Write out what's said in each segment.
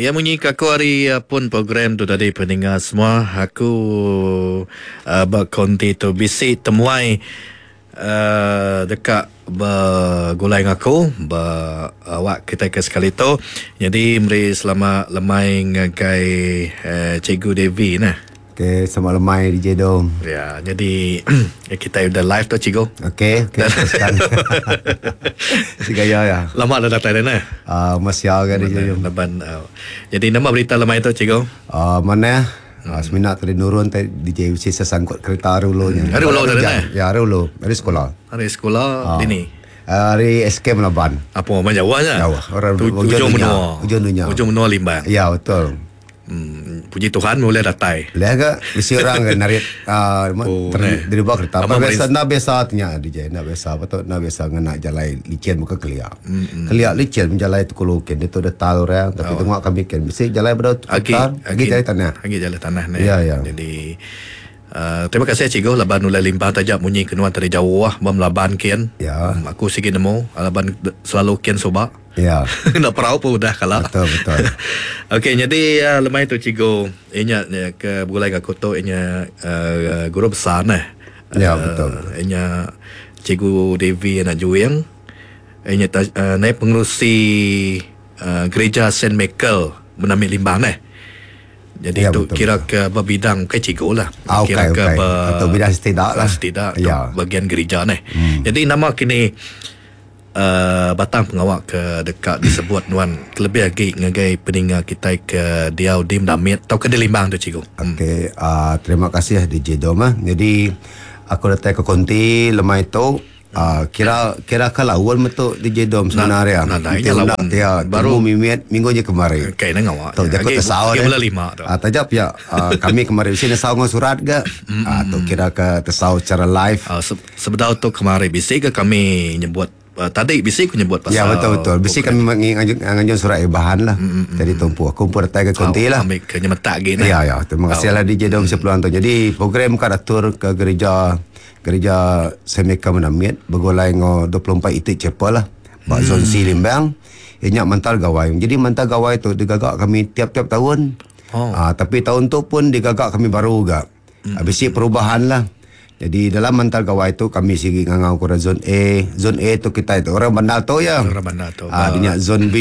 Ya munyi ke aku ari pun program tu tadi peninga semua aku uh, ba konti tu bisi temuai uh, deka begulai enggau aku ba awak kita ke sekali tu. Jadi meri selamat lemai ngagai uh, Cikgu Devi nah. Okey, selamat lemai DJ Dom. Ya, jadi kita udah live tu cikgu. Okey, okey teruskan. si gaya ya. Lama dah datai dah nah. Ah, uh, masih kan DJ Dom. Laban uh, jadi nama berita lemai tu cikgu? Ah, uh, mana? Uh, semina tadi nurun tadi DJ mesti sesangkut kereta hari ulu nya. Hari ulu tadi nah. Ya, hari ulu, hari sekolah. Hari sekolah uh. dini. Hari SK Melaban. Apa macam jauh nya? Jauh. Orang ujung menua. Ujung dunia. Ujung menua Limbang. Ya, betul. Hmm, puji Tuhan boleh datai. Boleh ke? Bisi orang ke narit uh, oh, ter, dari bawah kereta. Apa biasa nak biasa tanya DJ, nak biasa apa tu nak biasa ngena jalai licin bukan kelia. Mm-hmm. Kelia licin menjalai tu kulo ken dia tu ada tal orang tapi oh. tengok kami ken bisi jalai pada agi agi jalai tanah. Agi jalai tanah ni. Ya ya. Jadi uh, terima kasih cikgu laban ulai limpah tajak munyi kenuan tadi jauh ah bam laban ken. Ya. Aku sigi nemu laban selalu ken suba. Ya. Nak perau pun udah kala. Betul betul. Okey, jadi uh, lemai tu cikgu inya ya, ke begulai aku tu inya uh, guru besar nah. Ya, betul. Inya cikgu Devi anak Juing. Inya uh, naik pengerusi uh, gereja Saint Michael Menamik Limbang nah. Jadi Ya, tu betul, kira ke berbidang ke cikgu lah. Ah, kira okey, ke okey. ber, Atau bidang setidak lah. Setidak Ya. bagian gereja ni. Jadi nama kini uh, batang pengawak ke dekat disebut nuan kelebih lagi ngagai peninga kita ke diau di Mendamit atau ke di Limbang tu cikgu. Okey, uh, terima kasih DJ Dom. ah. Jadi aku datang ke konti lemai tu uh, kira kira ke lawan metu DJ Dom sebenarnya. nah, nah, Nanti ini lawan. undang dia Baru- baru mimit minggu je kemarin. Okey nang awak. Tu jago tersau Lagi bulan lima tu. Ah tajap ya. Uh, kami kemarin sini nesau dengan surat ke? Ah tu kira ke tersau secara live. Uh, sebedau tu kemarin bisi ke kami nyebut uh, tadi bisi aku nyebut pasal Ya betul betul. Bisi kami menganjur surat bahan lah. Jadi tumpu aku pun datang ke konti lah. Ambil ke nyemetak lagi nah. Ya ya, terima kasih lah DJ Dom sepeluang tu. Jadi program kat atur ke gereja gereja Semeka Menamit bergolai ngo 24 itik chapel lah. Bak zon C Limbang. Inyak mantal gawai. Jadi mantal gawai tu digagak kami tiap-tiap tahun. Oh. Ah, tapi tahun tu pun digagak kami baru juga. Habis perubahan lah. Jadi dalam mantal gawai tu kami sigi ngangau kurang zon A. Zon A tu kita itu orang bandar tu ya. Orang bandar tu. Ah, dia zon B.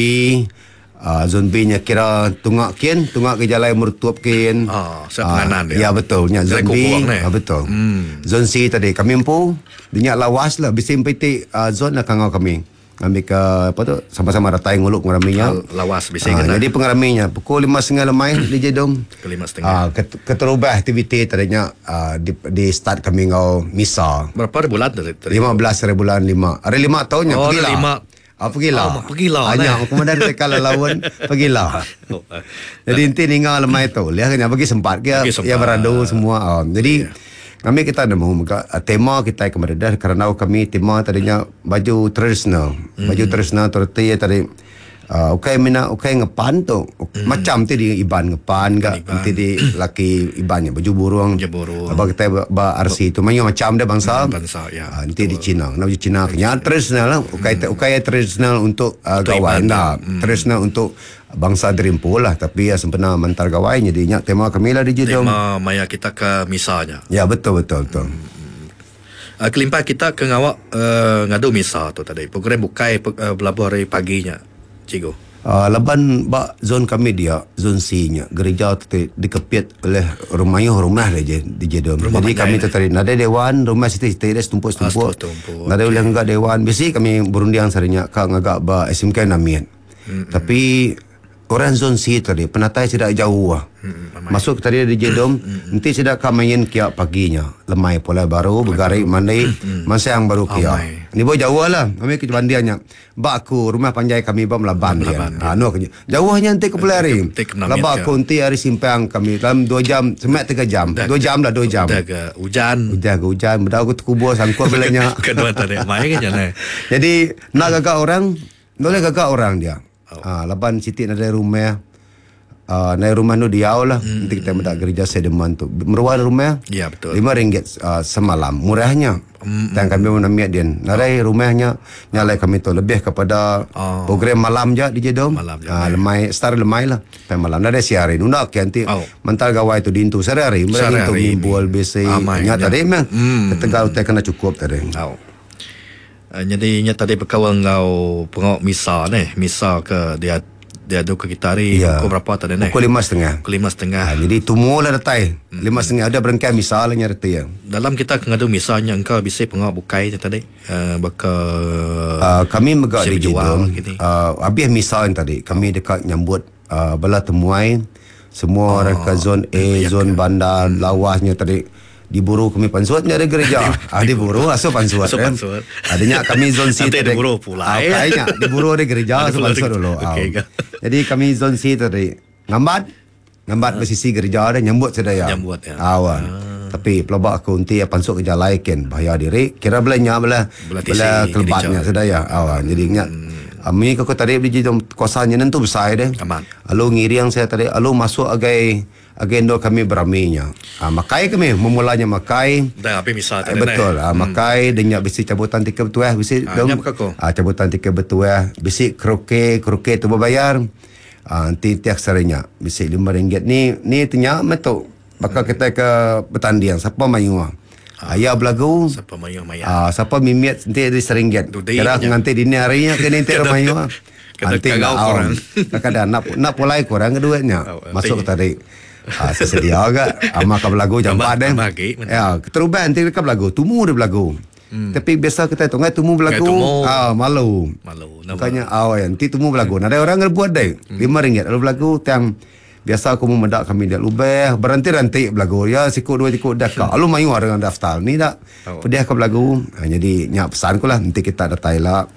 Ah, zon B nya kira tungak kin, tungak ke jalan mertuap kin. Ah, saya penganan dia. Ya betul, nya Jalan zon B. kukuang ni. Ah, betul. Zon C tadi kami empu, dia nya lawas lah bisi empiti uh, zon lah kangau kami. Ambil ke apa tu sama-sama ratai nguluk pengeraminya. Lawas bisi Ah, kena. jadi pengeraminya pukul 5.30 lemai di Jedom. Pukul 5.30. Ah, keterubah aktiviti tadinya ah, di, di start kami ngau misa. Berapa hari bulan tadi? tadi? 15 hari bulan 5. Hari 5 tahunnya Oh, hari pergilah. lima. Ah, pergilah. Oh, pergilah, Hanya eh. kemudian mereka lawan pergilah. Oh, eh. Jadi inti ninga lemai tu, lihat kena bagi sempat ke Bagi sempat. ya beradu semua. Ah, jadi kami kita ada mahu mega, ah, tema kita kemarin dah kerana kami tema tadinya baju tradisional. Baju tradisional tu reti tadi Uh, ukai mina ukai ngepan tu macam ti di iban ngepan ga nanti di laki ibannya baju burung Baju burung. Abang kita ba, ba RC tu mayu macam dia bangsa Bangsa, ya. Ah, nanti di Cina nak baju Cina kenya tradisional lah ukai ukai tradisional untuk uh, gawai Iban nah tradisional untuk bangsa Derimpu lah tapi ya sempena mentar gawai jadi nyak tema kami lah di Jedom Tema maya kita ke misanya. ya betul betul betul Uh, kelimpah kita ke ngawak uh, ngadu misa tu tadi. Program bukai uh, belabuh hari paginya. Cikgu. Uh, laban bak zon kami dia zon C nya gereja tu te- dikepit oleh rumah rumah dia je di Jedom. Rumah Jadi panjai kami ni. tu tadi nada dewan rumah situ-situ dia setumpuk-setumpuk. Ah, setumpuk-setumpuk, Nada boleh ngagak dewan. Biasa kami berundiang sarinya ka ngagak ba SMK Namian. Tapi orang zon C tadi penatai tidak jauh lah. Masuk tadi di Jedom, nanti tidak ka main kia paginya. Lemai pula baru bergarik mandi, masa yang baru kia. Amai. Ni boleh jauh lah. Kami ke bandiannya. Bak aku rumah panjai kami ba melaban dia. Ha nu aku. Jauhnya nanti ke Pulari. Nanti ke Menamit Laba ke. aku nanti hari simpang kami dalam 2 jam, semak 3 jam. 2 jam lah 2 jam. Dah ke hujan. Hujan ke hujan, benda aku terkubur sangkut belanya. Kedua tadi mai kan jana. Jadi nak gagak orang, boleh gagak orang dia. Oh. Ha, laban sitik ada rumah. Uh, naik rumah nu diau lah. Hmm. Nanti kita meda gereja Sedeman tu. Meruan rumah. Ya, betul. Lima ringgit uh, semalam. Murahnya. Hmm. Dan kami pun ambil din. Narai rumahnya nyalai kami tu lebih kepada oh. program malam je di Jedom. Malam je. Uh, lemai start lemai lah. Sampai malam. Nadai siari. Nunda ke nanti Oh. mental gawai tu dintu sehari-hari. Mereka Sehari-hari. tu mimbul besi. Amai, Nya nya. tadi mah. Hmm. Tegal utai kena cukup tadi. Tau. Uh, jadi nya tadi berkawan ngau pengok misa ni, misa ke dia dia adu ke kita hari Ya. pukul berapa tadi ni? Pukul 5.30. Pukul 5.30. Ha, jadi tumu lah datai. 5.30 ada berengkai misa lah nya reti ya. Dalam kita ke ngadu misanya engkau bisa pengok bukai je tadi. Uh, baka Kami megak Siap di jual Jedong. gini. Habis misa yang tadi, kami dekat nyambut bala temuai semua orang ke zon A, zon bandar, lawasnya tadi diburu kami pansut ni ada gereja. ah diburu aso pansut. Asuh eh. pansut. Adanya kami zon C Nanti tadi. diburu pula, Ah, eh. kayaknya diburu ada gereja Ada aso pula pansut ada- dulu. Ah. Okey, ke? Jadi kami zon C tadi ngambat ngambat bersisi gereja ada nyambut sedaya. Nyambut, ya. Awan. Tapi pelabak aku nanti pansut ke jalai ken bahaya diri. Kira belanya belah Belah tisi belah kelebatnya gereja. sedaya. Awan. Jadi ingat Ami kau tadi beli jom kawasannya nentu besar deh. Aman. Lalu ngiring saya tadi, lalu masuk agai agendo kami beraminya. Ah, makai kami memulanya makai. Dah habis misa Eh, tadi. betul. Ah, makai hmm. denyak besi cabutan tiket betuah besi Ah, nyak buka ko. Ah, cabutan tiket betuah besi kroke kroke tu berbayar. Ah, nanti tiap sarinya besi RM5 ni ni tenya metuk. Bakal kita ke bertanding siapa mayu ah. Ayah belagu. Siapa mayu maya. Ah, siapa mimiat nanti ada RM1. Dudi Kira nya. nanti dini harinya ke nanti Kena- mayu ah. kena Nanti kagau nak korang. Kadang nak nak pulai korang ke duitnya. Oh, nanti. Masuk ke tadi. Ah, saya sedia agak. Ama ka belagu jam Tambah- 4 deh. tambah lagi. Ya, terubah nanti dekat belagu. Tumu dia belagu. Tapi biasa kita tu ngai tumu belagu. Ngai tumu. Ah, malu. Malu. Nama. Bukannya ah, ya, nanti tumu belagu. Ada orang ngebuat deh. RM5 lalu belagu tiang biasa aku memedak kami dia lubeh berhenti-henti belagu ya sikut dua sikut dah kak lalu mayu dengan daftar ni dak Oh. pedih aku belagu ha, jadi nyak pesan ku lah nanti kita datai lah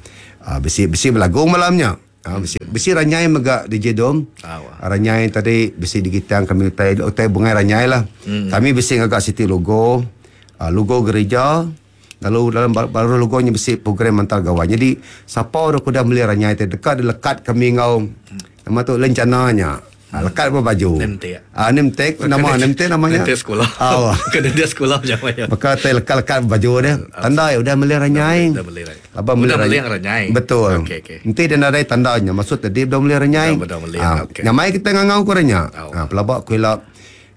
ha, besi besi belagu malamnya ha, besi besi ranyai megak DJ Dom Ah, wah. ranyai tadi besi digitang kami utai utai bungai ranyai lah kami besi ngagak siti logo ah, logo gereja Lalu dalam baru logonya besi program mantal gawai. Jadi siapa orang kuda beli ranyai tadi dekat lekat kami ngau nama tu lencananya. Ha, lekat apa baju? Nemtek. Ah, nemtek nama nemtek namanya. Nanti sekolah. Ah, wah. Kena dia sekolah macam mana. Maka tai lekat-lekat baju dia. Tanda ya udah beli ranyai. Dah beli ranyai. Abang beli Udah beli ranyai. yang ranyai. Betul. Okey, okey. Nanti dia nadai tandanya. Maksud tadi dah beli ranyai. Dah- dah beli, Ah, okey. Nyamai kita ngangau kurangnya. Tahu. Ah, pelabak kuilap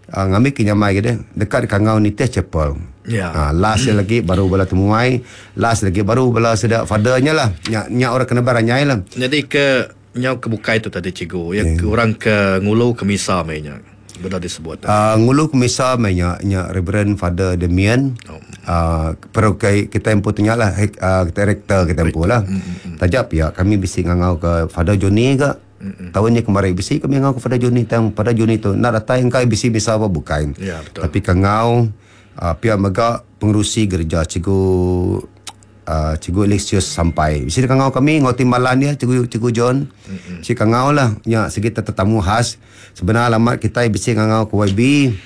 ah, ngambil ke nyamai ke dia. Dekat kangau ni teh chapel. Ya. Ah, last dia lagi baru bala temuai, last lagi baru bala sedak fathernya lah. Nyak nyak orang kena baranyai lah. Jadi ke nyau ke bukai tu tadi cikgu. Ya yeah. orang ke ngulu ke misa mainnya. Benar disebut. Ngulu kemisa mainnya nya Reverend Father Damian. Oh. Pero kai kita empu tanya lah kita rektor kita empu lah. Tajap ya kami bisi ngangau ke Father Johnny ke. Tahun ni kemarin bisi kami ngangau ke Father Johnny tang Father Johnny tu nak datang engkai bisi misa apa bukan. Ya, betul. Tapi kangau pihak megak pengerusi gereja cikgu cikgu Alexius sampai. Bisi kangau kami ngau timbalan dia cikgu cikgu John. Si kangau lah nya segi tetamu khas. Sebenarnya alamat kita bisi kangau ke YB,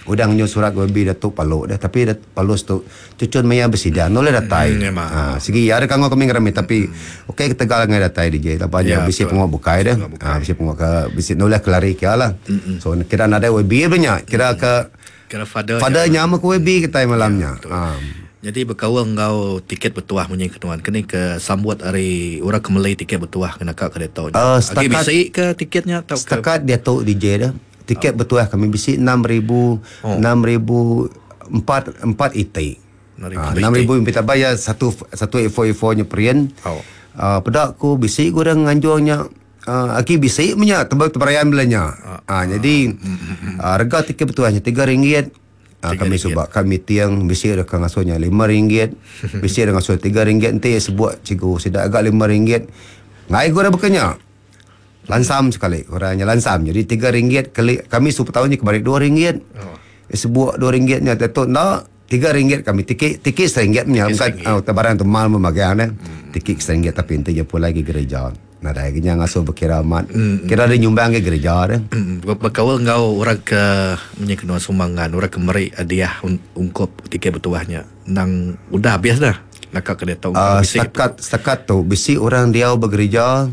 udah ngunjung surat ke YB Datuk Paluk dah tapi Dat Palus tu cucun maya bersidang noleh datai. Memang. Ha, segi ada kangau kami ngerami tapi okey kita tegal ngai datai DJ tapi Ya, ya, bisi betul. pengok bukai dah. Ha, bisi pengok ke bisi noleh kelari ke lah. So kira nada YB banyak kira ke Kira father. Father nyama ke YB kita malamnya. Ha. Jadi berkawal ngau tiket bertuah munyi ketuan. Kini ke sambut hari orang ke Malay tiket bertuah kena kak kereta. Ah, Agi setakat- bisi ke tiketnya atau ke Setakat dia tahu DJ dah. Tiket bertuah kami bisi 6000 Oh. 6000 4 4 IT. 6,000 Ah, 6000 minta bayar satu satu A4 A4 nya print. Oh. Ah, pedak ku bisi kurang nganjurnya aki bisi punya tebal teberayan belanya. Ah, jadi harga tiket bertuahnya RM3. Ah, kami sebab kami tiang bisi ada kang asuhnya RM5, bisi ada ngasuh RM3 nanti sebut cikgu sedak agak RM5. Ngai gua dah berkenya. Lansam sekali orangnya lansam. Jadi RM3 kali kami super tahun ni kemarin RM2. Oh. Sebut RM2 nya tetok nak RM3 kami tiket tiket RM1 punya bukan RM1. ah, barang tu mahal memakai eh. Tiket RM1 tapi nanti je pun lagi gereja. Nah, dah kena ngasuh berkira amat. Kira ada nyumbang ke gereja dah. Berkawal ngau orang ke munyi kena sumbangan orang ke meri hadiah ungkup tiket bertuahnya. Nang udah habis dah. Nak kak kereta Uh, bisi. setakat setakat tu bisi orang dia bergereja.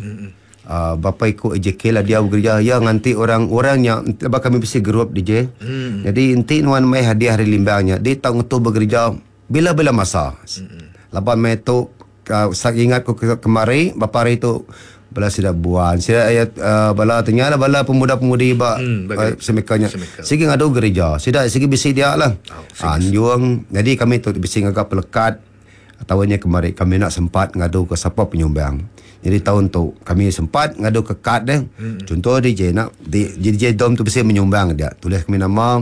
Bapa iku AJK lah diau begereja iya nganti orang orang nya ba kami bisi group DJ. Hmm. Jadi enti nuan mai hadiah ari Limbang nya di tau ngetu begereja bila-bila masa. Hmm. Laban mai tu uh, ingat ku kemari bapa hari tu bala sida buan sida ayat uh, bala tanya lah bala pemuda-pemudi ba hmm, uh, semeka nya sigi ngadu gereja sida sigi bisi dia lah oh, anjung jadi kami tu bisi ngaga pelekat Taun nya kemari kami enda sempat ngadu ke sapa penyumbang. Jadi taun tu kami sempat ngadu ke kad deh. Chunto DJ nya DJ Dom tu bisi menyumbang dia. Tulis kami nama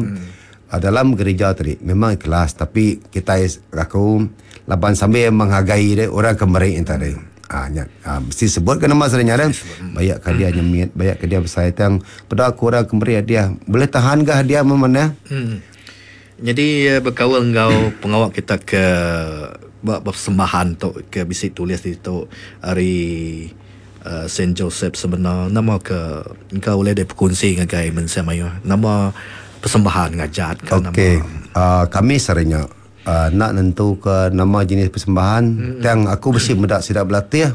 dalam gereja tadi memang ikhlas tapi kitai aku laban sambil menghargai deh orang ke meri nya tadi. Haa nya mesti sebut ke nama sida nya deh. Bayak ke hadiah nyemit bayak ke hadiah besai tang peda ku orang ke meri hadiah boleh tahan ga hadiah meh manah. Nyadi bekaul enggau pengawa kita ke ba persembahan tu ke bisi tulis ditu ari uhh Saint Joseph Semena nama ke engka ulih deh bekunsi ngagai mensia mayuh nama persembahan ngajat ka nama. Okey uhh kami sehari nya uhh enda nentu ke nama jenis persembahan tang aku bisi meda sida belatih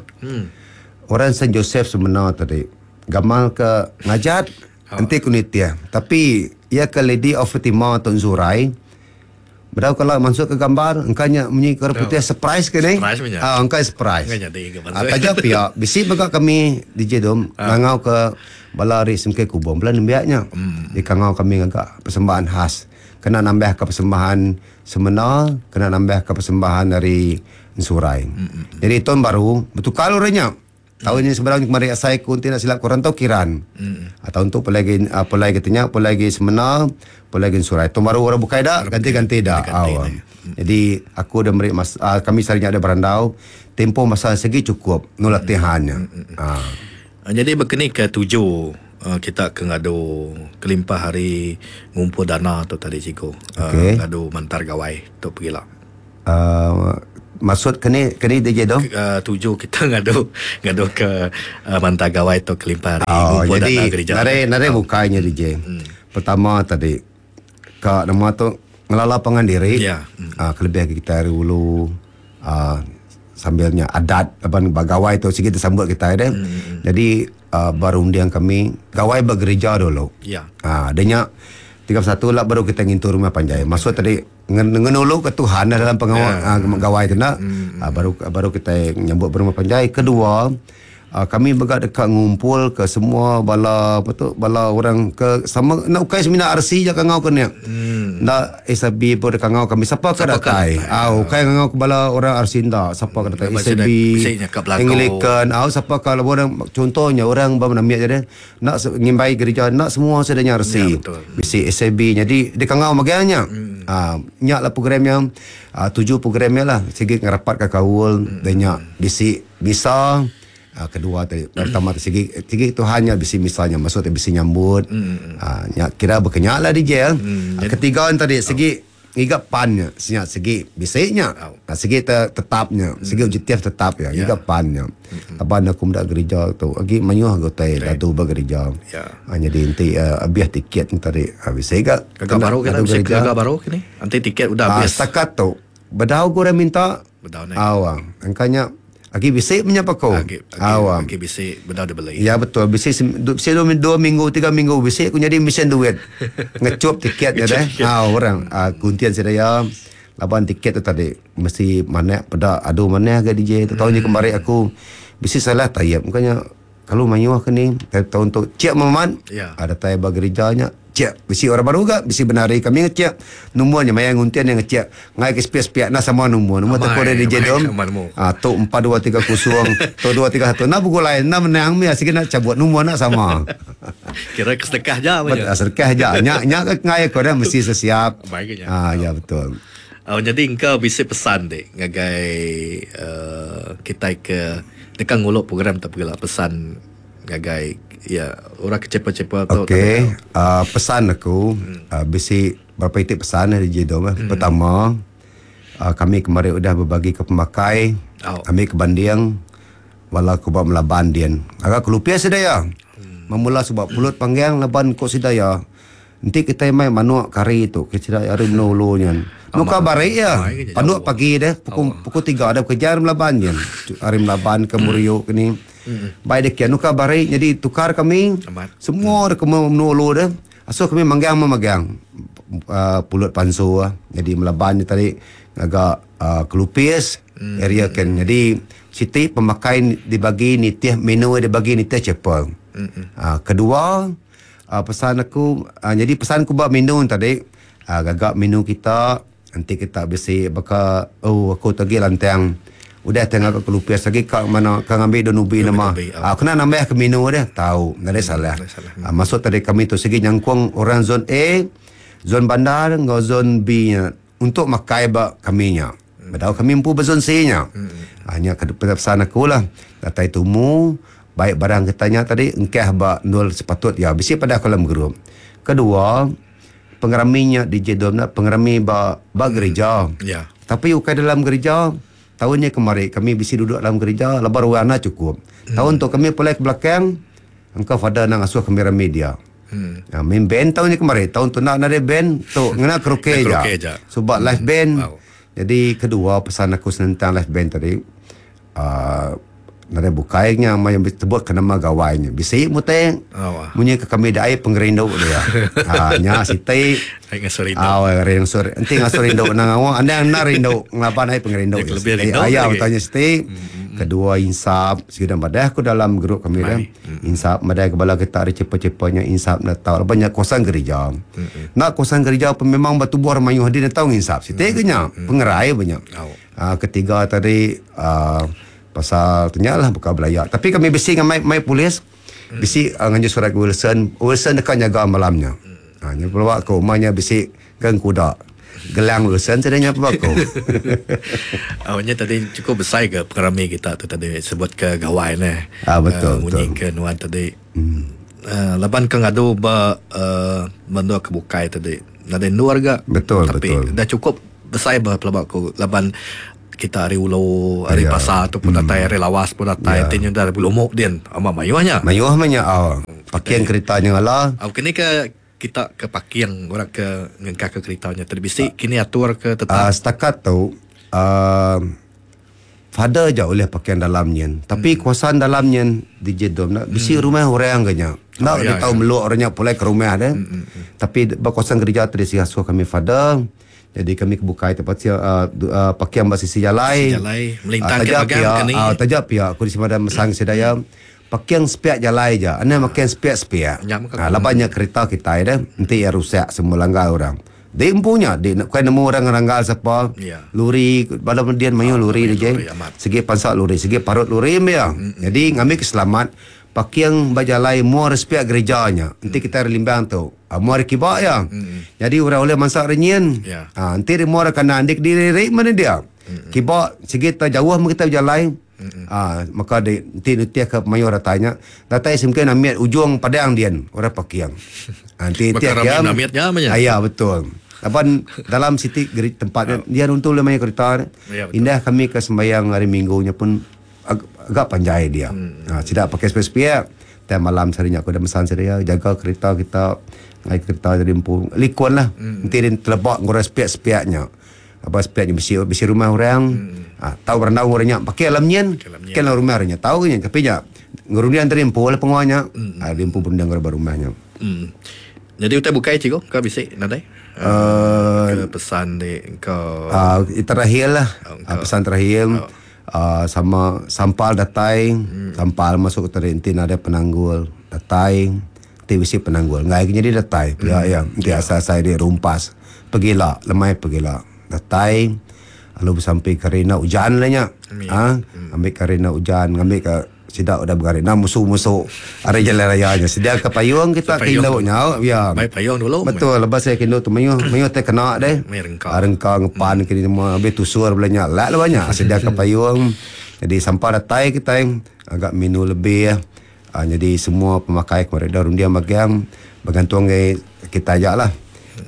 orang Saint Joseph Semena tadi gamal ke ngajat. Enti ku nitih. Tapi iya ke Lady of Fatima tu Enzurai bedau kala mansut ke gambar engka nya munyi ke orang putih surprise ke ni. Surprise meh nya. Ah engka surprise. Engka nyadi ke Ah mansut. taja pia bisi mega kami DJ Dom ngangau ke bala ari SMK Kubong bala nembiak nya. Dikangau kami ngaga persembahan khas kena nambah ka persembahan semena kena nambah ka persembahan ari Ensurai. Jadi taun baru betukar orang nya. Taun nya sebarang kemari asai ku enti enda silap ku rantau kiran. Taun tu pulai agi pulai agi tenya pulai agi semena pulai agi ensurai. Taun baru orang bukai da ganti ganti da. Au. Jadi aku udah meri masa kami sehari nya udah berandau tempoh masa sigi chukup nu latihan nya. Jadi baka ni ke tuju kita ke ngadu kelimpah ari ngumpul dana tu tadi cikgu ngadu mantar gawai tu pegila. Maksud keni keni DJ tu? Tuju kita ngadu ngadu ke mantar gawai tu kelimpah ari Oh, ngumpul jadi dana gereja. nadai nadai bukai nya DJ. Pertama tadi ka nama tu ngelala pangan diri. Ya. Kelebih agi kitai ari ulu aaa sambil nya adat laban ba gawai tu sigi disambut kitai deh. Jadi aaa ba runding kami gawai ba gereja dulu. Ya. Aa dah nya 31 la baru kitai ngintu rumah panjai. Maksud tadi Ngenulu ke Tuhan dalam pengawa gawai tu enda baru baru kitai nyambut berumah panjai. Kedua kami mega deka ngumpul ke semua bala apa tu bala orang ke sama enda ukai semina RC ja kangau ke nya. Enda SIB pun deka ngau kami sapa ke datai. Au ukai ngangau ke bala orang RC enda sapa ke datai SIB, Anglican au sapa ke orang contohnya orang ba menamik ja deh. Enda ngimbai gerija enda semua sida nya resi. Bisi SAB nyadi dikangau mega nya. Aaa nya lah program nya aaa tuju program nya lah sigi ngerapat ka kaul da nya bisi misa aaa kedua ti pertama ti sigi sigi Tuhan nya bisi misa nya maksud ti bisi nyambut aaa nya kira baka nya lah DJ. Ketiga ne tadi sigi Ngiga pan nya nya sigi bisi nya sigi te tetap nya sigi objektif tetap iya ngiga pan nya laban aku meda gerija tu agi mayuh ga utai dadu ba gerija nyadi enti abih tiket nya tadi bisi ga Gaga baru kena bisi gaga baru kini enti tiket udah abis. Setakat tu bedau ga orang minta au engka nya Agi bisi menya peko. Agi agi agi bisi bedau dibeli. Ya betul bisi bisi dua minggu tiga minggu bisi ku nyadi mesin duit. Ngechup tiket nya deh. Au orang kuntin sida iya laban tiket tu tadi mesti manak peda adu manah ga DJ tu taun nya kemari aku bisi salah taip ka nya kalu mayuh ke ni taun tu chek memat datai ba gerija nya. Ngecek bisi orang baru ga bisi benari kami ngecek numur nya maya nguntin nya ngecek ngai ke sepiak-sepiak enda sama numur numur tekun ari DJ Dom ah tu 4230 tu 231 enda begulai enda menang mih sigi enda chabut numur enda sama. Kira ke sedekah ja meh nya. Sedekah ja nya nya ke ngai aku dah mesti sesiap. Ah ya betul. Oh nyadi engka bisi pesan ti ngagai uhh kitai ke deka ngulu program tu pegila pesan ngagai iya orang ke chepa-chepa tu. Okey, uh, pesan aku hmm. uh, bisi berapa iti pesan dari Jidom. Eh. Hmm. Pertama, uh, kami kemarin udah berbagi ke pemakai, oh. kami ke banding wala ku ba melaban din. Agak kelupia sida ya. Hmm. Memula sebab pulut panggang laban ko sida ya. Enti kitai mai manuk kari tu ke sida ari menua ulu nyen. Nuka bari iya. Panduk pagi deh pukul pukul 3 dah bekerja ari Melaban nyin. Ari Melaban ke Muriuk ke ni. Bai deh kia nuka bari nyadi tukar kami. Semua deh ke menua ulu deh. Asuh kami manggang memagang uhh pulut pansu nyadi Melaban nya tadi ngaga uhh kelupis area ken. Nyadi siti pemakai dibagi nitih menu dibagi nitih chapel. Uhh kedua uhh pesan aku uhh nyadi pesan ku ba menu tadi uhh gaga menu kita enti kita bisi baka oh aku tu agi lantang udah ti ngaga kelupis agi ka mena ka ngambi daun ubi nama uhh kena nambah ke menu deh tau nadai salah. Uhh maksud tadi kami tu sigi nyangkung orang zon A, zon bandar enggau zon B nya untuk makai ba kami nya. Bedau kami empu ba zon C nya. Uhh nya ke pesan aku lah datai tumu baik barang kita nya tadi engkah ba endur sepatut iya bisi padah aku dalam group. Kedua pengerami nya di Jedom nya pengerami ba ba gerija. Ya. Tapi ukai dalam gerija, taun nya kemari kami bisi duduk dalam gerija laban ruang enda chukup. Hmm. Taun tu kami pulai ke belakang engka father enda ngasuh kami rami dia. Hmm. Ya, main band taun nya kemari, taun tu enda nadai band tu ngena karaoke ja. ja. Suba hmm. live band. Wow. Jadi kedua pesan aku senentang live band tadi uhh nadai bukai nya maya betebut ke nama gawai nya bisi mutai munyi ke kami da ai pengerindu dia uhh nya siti au ngasuh enti ngasuh rindu nang ngawa anang enda rindu ngelaban ai pengerindu aya utai nya siti kedua insap sida madah ku dalam group kami dah insap madah ke bala kita ari chepa-chepa nya insap enda tau laban nya kawasan gerija enda kawasan gerija pun memang betubuh mayuh adi enda tau nginsap siti ke nya pengerai ba nya. Ketiga tadi uhh pasal tu nya lah baka belaya. Tapi kami bisi ngamai mai polis bisi nganjung surat ke Wilson, Wilson deka nyaga malam nya. Uhh nya pelaba ku uma nya bisi geng kuda gelang Wilson sida nya pelaba ku. Uhh nya tadi cukup besai ga pengerami kita tu tadi sebut ke gawai neh. Uhh betul betul. Munyi ke nuan tadi uhh laban ke ngadu ba uhh menua ke bukai tadi nadai endur ga. Betul tapi betul. Dah cukup Besai ba pelaba ku laban kita ari ulu ari Ya. pasar tu pun datai ari lawas pun datai Ya. ti nyudah ari Lumok din amat mayuh nya. Mayuh meh nya au. Parking kerita nya ngala. Au kini ke kita ke parking orang ke ngengkah ke kerita nya tadi bisi kini atur ke tetap. Uh, setakat tu uh, father ja ulih parking dalam nyin. Tapi hmm. kawasan dalam nyin di Jedom nak bisi hmm. rumah orang ke nya. Nak Oh, dia ya, tahu ya. meluk orang nya pulai ke rumah deh. Hmm. Tapi ba kawasan kerja tadi si asuh kami father Jadi kami ke bukai tempat sia uh, uh, pakiang ba sisi jalai. Sisi jalai, melintang uh, ke bagang pia, ke ni. Uh, taja pia aku di Semadan mesang sedaya pakiang sepiak jalai ja. Ane makiang sepiak-sepiak. Nya meh Ha, laban nya kereta kitai deh, enti iya rusak semua langgar orang. Di empu nya, di bukan nemu orang ngeranggar sapa. Ya. Luri bala median mayuh luri mayuh je. luri amat. Sigi pansa luri, sigi parut luri meh iya. Jadi ngambi ke selamat Paking ba jalai mua ari sepiak gereja nya. Enti kitai ari Limbang tu, mua ari kiba iya. Nyadi orang ulih mansa ari nyin. Ha, enti ari mua ari kanan enti kediri ri meh dia. Kiba sigi te jauh meh kitai bejalai. Ha, maka di enti nitih ke mayuh datai nya, datai semungkin amit ujung padang din orang paking. Ha, enti nitih Baka ke rami amit nya meh nya. Ya betul. Laban dalam siti tempat nya dia nuntu ulih mayuh kereta. Indah kami ke sembayang hari minggu nya pun Agak panjai dia. Ha, sida pakai sepiak-sepiak. Time malam sehari nya aku dah mesan sida iya jaga kereta kita ngai kereta jadi empu likun lah. Enti dia teleba ngurus sepiak-sepiak nya. Aba sepiak nya bisi bisi rumah orang. Ha, tau berandau orang nya pakai alam nyin. Pakai alam rumah orang nya. Tau ke nya tapi nya ngerunding tadi empu lah penguan nya. Ha, dia empu berunding ba rumah nya. Nyadi utai bukai cikgu ka bisi nadai? Uh, ke pesan di ke uh, terakhir lah. Uh, pesan terakhir. Aaa sama sampal datai, sampal masuk ke tadi enti nadai penanggul datai, enti bisi penanggul enggai ke nyadi datai pia iya. Enti asai asai diri rumpas pegila lemai pegila datai lalu besampi ke hari enda ujan lah nya aaa ambi ke hari enda ujan ngambi ka sida udah begari enda musu musu ari jalai raya nya sedia ke payung kita ke indu nya iya. Mai payung dulu. Betul lepas saya ke indu tu mayuh mayuh tai kena deh. Rengka ngepan ke semua habis tusur bala nya lak laban nya sedia ke payung jadi sampa datai kitai agak menu lebih aaa jadi semua pemakai ke meri da runding magang begantung ngagai kitai aja lah.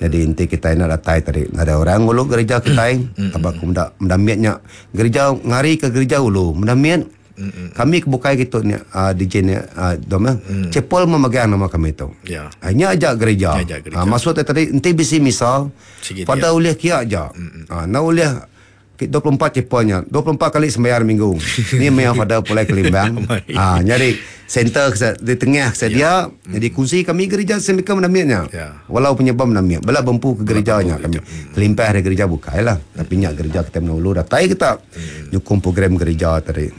Jadi enti kitai enda datai tadi nadai orang ngulu gereja kitai aba ku meda meda mit nya gereja ngari ke gereja ulu meda mit. Kami ke bukai kitu ni uh, DJ ni uh, dom eh. Chapel memegang nama kami tu. Ya. Ah, nya aja gereja. Nya aja gereja. Ah, maksud dia tadi enti bisi misa Sigi pada ulih kia aja. Ah, na ulih 24 chapelnya 24 kali sembayar minggu. Ni maya father pulai ke Limbang. Ah, nyadi center ke di tengah ke dia jadi kunci kami gereja St. Michael Menamit nya. Ya. Walau penyebab Menamit bela bempu ke gereja nya kami. Kelimpah dari gereja bukai lah. Tapi nya gereja kita menulu datai kita nyukung program gereja tadi.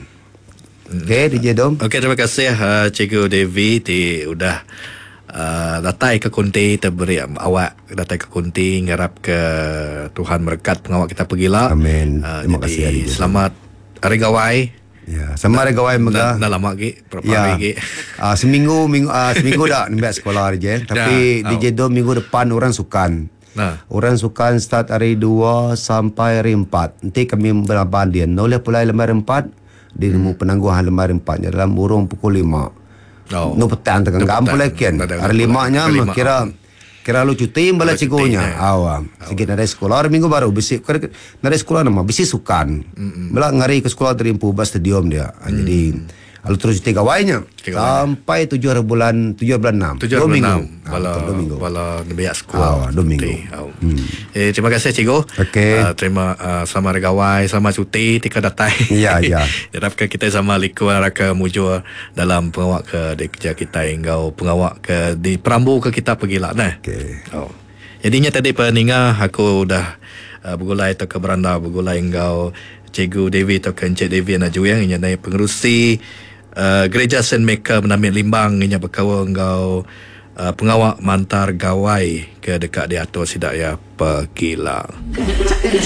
Okey DJ Dom. Okey terima kasih uh, Cikgu Devi ti udah uh, datai ke kunti terberi awak datai ke kunti ngarap ke Tuhan merekat pengawak kita pegila. Amin. Uh, Terima jadi, kasih, DJ. Selamat Hari Gawai. Ya, sama hari gawai mega. Dah lama lagi, berapa Ya. hari lagi. Seminggu minggu seminggu dah nembiak sekolah je. Tapi Dah. DJ Dom minggu depan orang sukan. Nah. Orang sukan start hari 2 sampai hari 4. Nanti kami berlaban dia. Noleh pulai lembar 4 di nemu penangguhan lembar 4 nya dalam burung pukul 5. Oh. Nu petang tengah Nu gam petang. pulai kian. Petang Hari limanya Hari lima. kira kira lu cuti bala cikgunya. eh. Awa. Sikit nadai sekolah hari minggu baru bisi kira nadai sekolah nama bisi sukan. Bela ngari ke sekolah dari empu bas stadium dia. Ah, Jadi lalu terus cuti gawainya Cuti gawai. sampai 7 hari bulan 7 bulan 6. Tujuh Dua bulan minggu. enam. Ah, Bala betul, dua minggu. bala nembiak sekolah. Ah, dua minggu. Hmm. Eh, terima kasih cikgu. Okey. Terima selamat hari gawai, selamat cuti tika datai. Ya, ya. Harapkan kita sama liku raka mujur dalam pengawak ke di kerja kita hingga pengawak ke di perambu ke kita pergi lah nah. Okey. Oh. Jadinya tadi peninga aku udah bergulai atau ke beranda bergulai enggau Cikgu Devi atau ke Encik Devi anak Juyang inya naik pengerusi Gereja Saint Michael Menamit Limbang inya berkawan enggau pengawak mantar gawai ke dekat diatur sidak ya pegila.